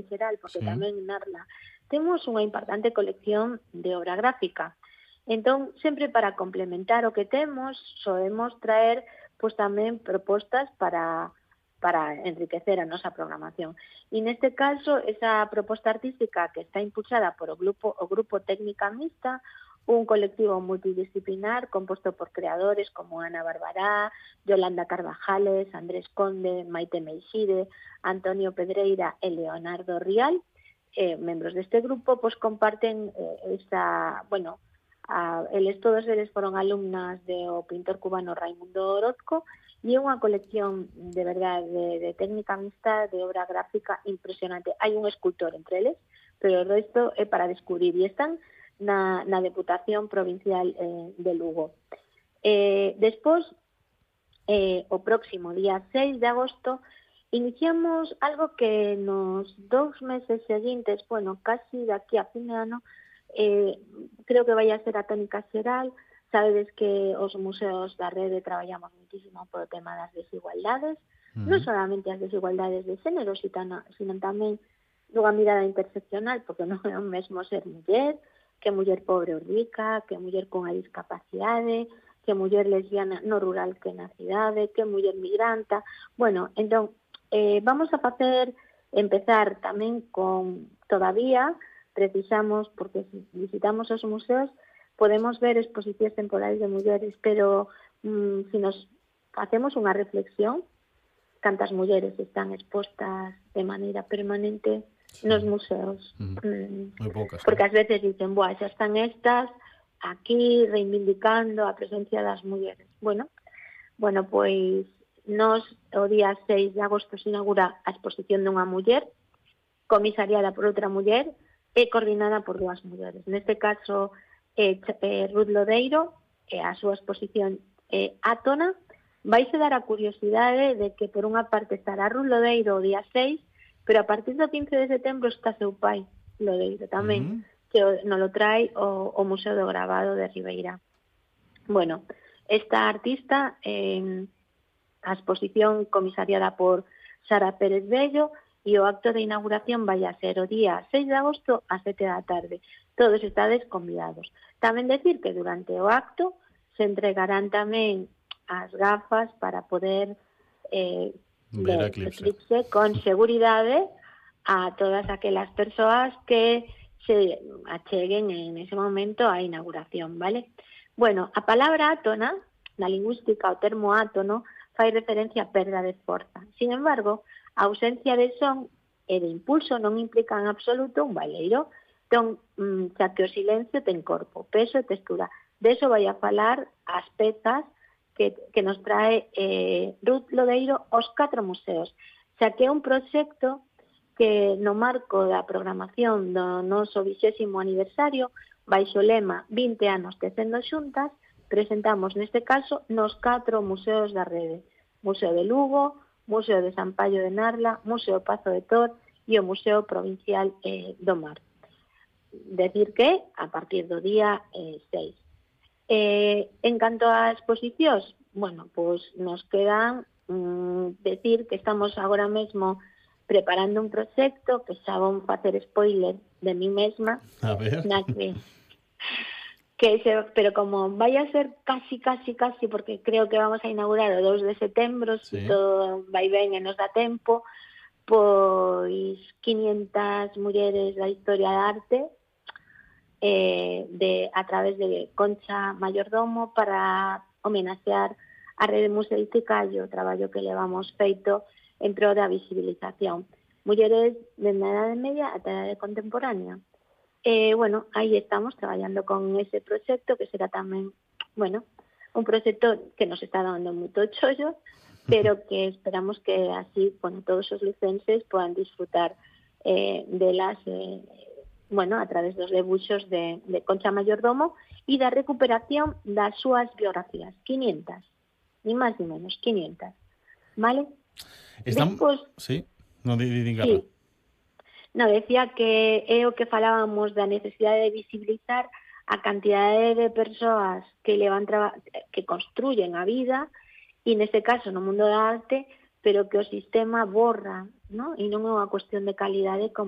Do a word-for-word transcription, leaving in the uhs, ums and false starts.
xeral, porque Sí. tamén Narla temos unha importante colección de obra gráfica. Entón, sempre para complementar o que temos, soemos traer pois tamén propostas para para enriquecer a nosa programación. E neste caso, esa proposta artística que está impulsada por o grupo o grupo Técnica Mixta, un colectivo multidisciplinar composto por creadores como Ana Barbará, Yolanda Carvajales, Andrés Conde, Maite Meixide, Antonio Pedreira e Leonardo Rial, eh, membros deste grupo, pois comparten eh, esta, bueno, a, eles todos eles foron alumnas do pintor cubano Raimundo Orozco, e é unha colección de verdade de, de técnica mixta, de obra gráfica impresionante. Hai un escultor entre eles, pero o resto é para descubrir, e están na, na Deputación Provincial eh, de Lugo. Eh, despois, eh, o próximo día seis de agosto, iniciamos algo que nos dous meses seguintes, bueno, casi daqui a fin de ano, eh, creo que vai a ser a tónica xeral. Sabedes que os museos da rede traballamos muitísimo polo tema das desigualdades, Uh non -huh. solamente as desigualdades de xénero, sino, sino tamén dunha mirada interseccional, porque non é o mesmo ser muller, que muller pobre ou rica, que muller con a discapacidade, que muller lesbiana no rural que na cidade, que muller migranta. Bueno, entón, eh, vamos a facer, empezar tamén con, todavía, precisamos, porque se visitamos os museos, podemos ver exposicións temporales de mulleres, pero mm, si nos facemos unha reflexión, cantas mulleres están expostas de maneira permanente sí. nos museos. Uh -huh. mm, Moi poucas, porque ¿no? ás veces dicen, boa, xa están estas aquí reivindicando a presencia das mulleres. Bueno, bueno, pois nos o día seis de agosto se inaugura a exposición dunha muller, comisariada por outra muller e coordinada por dúas mulleres. Neste caso, eh, eh, Ruth Lodeiro, e a súa exposición eh, Átona, vaise dar a curiosidade de que por unha parte estará Ruth Lodeiro o día seis, pero a partir do quince de setembro está seu pai, Lodeiro, tamén, Uh -huh. que nos lo trae o, o Museo do Gravado de Ribeira. Bueno, esta artista, eh, a exposición comisariada por Sara Pérez Bello, e o acto de inauguración vai a ser o día seis de agosto a sete da tarde. Todos estades convidados. Tamén decir que durante o acto se entregarán tamén as gafas para poder eh, ver ver a eclipse. eclipse con seguridade a todas aquelas persoas que se acheguen en ese momento á inauguración, vale? Bueno, a palabra átona, na lingüística, o termo átono, fai referencia a perda de forza. Sin embargo, a ausencia de son e de impulso non implica en absoluto un baleiro. Entón, xa que o silencio ten corpo, peso e textura. De eso vai a falar as pezas que, que nos trae eh, Ruth Lodeiro aos catro museos. Xa que é un proxecto que no marco da programación do noso vixésimo aniversario, baixo o lema vinte anos tecendo xuntas, presentamos neste caso nos catro museos da rede. Museo de Lugo, Museo de San Paio de Narla, Museo Pazo de Tor e o Museo Provincial eh, do Mar. Decir que a partir do día eh, seis. Eh, en canto a exposicións, bueno, pois nos quedan mm, decir que estamos agora mesmo preparando un proxecto que xa vou facer spoiler de mí mesma, A ver. na que, que se, pero como vai a ser casi, casi, casi, porque creo que vamos a inaugurar o dous de setembro, Sí. se todo vai ben e nos dá tempo, pois quinientas mulleres da historia da arte, eh, de, a través de Concha Mayordomo, para homenaxear a rede museística e o traballo que levamos feito en pro da visibilización. Mulleres dende a Edade Media ata a Edade Contemporánea. Eh, bueno, aí estamos traballando con ese proxecto, que será tamén, bueno, un proxecto que nos está dando moito chollo, pero que esperamos que así, bueno, todos os lucenses podan disfrutar eh, delas, eh, bueno, a través dos debuxos de, de Concha Mayordomo e da recuperación das súas biografías, quinientas, ni máis ni menos, quinientas, vale? Están... Despois, sí, non di, di, di sí. No, decía que é o que falábamos da necesidade de visibilizar a cantidade de persoas que levan traba, que construyen a vida, e neste caso no mundo da arte, pero que o sistema borra, ¿no? E non é unha cuestión de calidade como